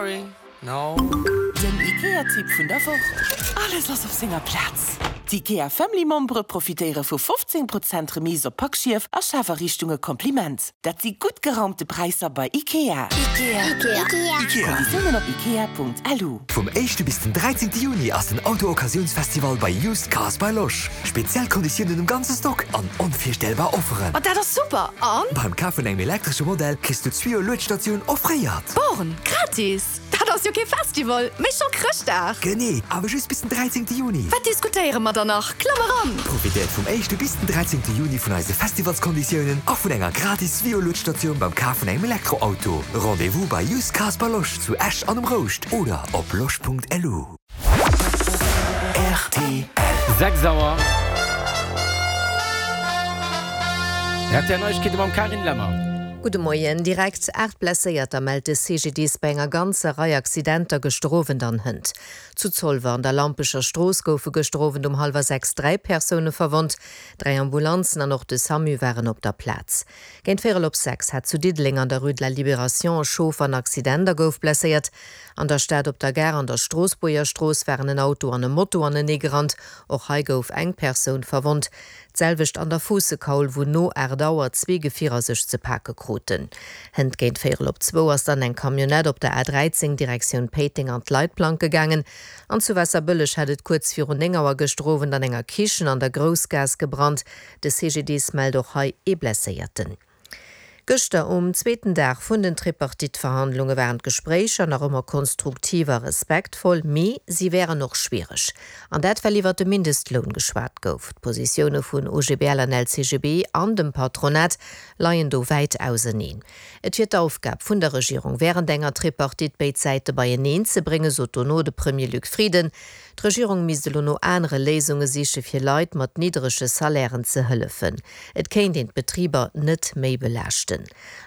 Sorry, no. Den IKEA-Tipp vun der Woch, Alles ass op senger Plaz! D'IKEA Family Membere profitéiere vu 15 Prozent Remise op Packschief a Schafariichtunge Kompliment! Dat si gutt geraumte Präisser bei IKEA! Konditiounen op ikea.lu. Vum éischte bis den 13 Juni ass den Auto-Occasiouns-Festival bei Used Cars by Losch. Speziell Konditiounen um ganze Stock an onvirstellbar Offeren. Ma dat ass super! An? Beim Kaf vun engem elektresche Modell kriss du d'Zwio-Luedstatioun offréiert. Born, gratis? Dat ass jo kee Festival, mee scho Chrëschtdag! Genee, awer just bis den 13 Juni. Wat diskutéiere mer dann nach? Klamm eran! Profitéiert vum éischte bis den 13 Juni vun eise Festivalskonditiounen a vun enger gratis Zwio-Luedstatioun beim Kaf vun engem Elektroauto. Rendez-vous bei Used Cars by Losch zu Esch an um Rouscht oder op losch.lu. Rtl. 6 Auer. Rtl Neiegkeete mam Carine Lemmer. Gudde Moien. Direkt 8 Blesséierter mellt de CGDIS bei enger ganzer Rei Accidenter gëschter Owend an hënt. Zu Zolwer an der Lampecher Strooss goufe gëschter Owend um hallwer 6 3 Persoune verwonnt. Dräi Ambulanzen an och de Samu waren op der Plaz. Géint véierel op 6 hat zu Diddeleng an der Rue de la Libération e Chauffer en Accident a gouf blesséiert. An der Stad op der Gare an der Stroossbuerger Strooss waren en Auto an e Moto aneneegerannt. Och hei gouf eng Persoun verwonnt. D'selwecht an der Fuussekaul, wou no 8 Auer zwee Gefierer sech ze pake kruten. Hënt géint véierel op zwou ass dann eng Camionnette op der A 13 Direktioun Péiteng an d'Leitplanke gaangen. An zu Waasserbëlleg hat et kuerz virun 9 Auer gëschter Owend an enger Kichen an der Groussgaass gebrannt. De CGDIS mellt och hei ee Blesséierten. Gëschter um zweeten Dag vun den Tripartite-Verhandlunge waren d'Gespréicher nach ëmmer konstruktiv a respektvoll, mee si wären och schwiereg. An dat well iwwert de Mindestloun geschwat gouf. D'Positioune vun OGBL an LCGB an dem Patronat leien do wäit auseneen. Et wier d'Aufgab vun der Regierung wärend enger Tripartite béid Säite beieneen ze bréngen, sot dono de Premier Luc Frieden. D'Regierung misst elo no anere Léisunge siche fir Leit mat nidderege Salairen ze hëllefen. Et kéint een d'Betriber net méi belaaschten.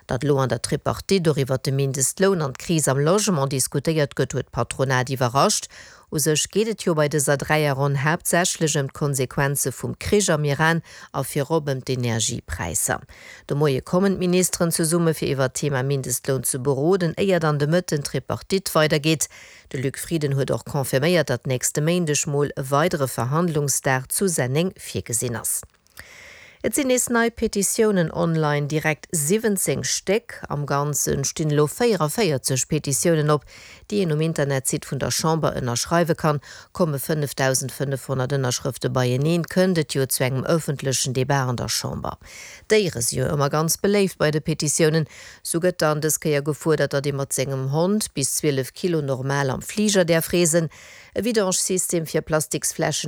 Datt elo an der Tripartite och iwwert de Mindestloun an d'Kris am Logement diskutéiert gëtt, huet d'Patronat iwwerrascht. U sech geet et jo bei dëser Dräierronn haaptsächlech ëm d'Konsequenze vum Krich am Iran a virop ëm d'Energiepräisser. De Moie kommen d'Ministeren zesumme fir iwwert d'Thema Mindestloun ze beroden, éier dann de Mëtten d'Tripartite weidergeet. De Luc Frieden huet och confirméiert, datt nächste Méindeg mol e weidere Verhandlungsdag zu Senneng virgesinn ass. Et sinn nees nei Petitiounen online, direkt 17 Stéck. Am Ganze stinn elo 44 Petitiounen op, déi een um Internetsite vun der Chamber ënnerschreiwe kann. Komme 5.500 Ënnerschrëfte beieneen, kënnt et jo zu engem ëffentlechen Debat an der Chamber. Déiere si jo ëmmer ganz beléift bei de Petitiounen. Sou gëtt dann dës Kéier gefuerdert, datt ee mat sengem Hond bis 12 Kilo normal am Fliger däerf reesen, e Vidange-System fir Plastiksfläschen a.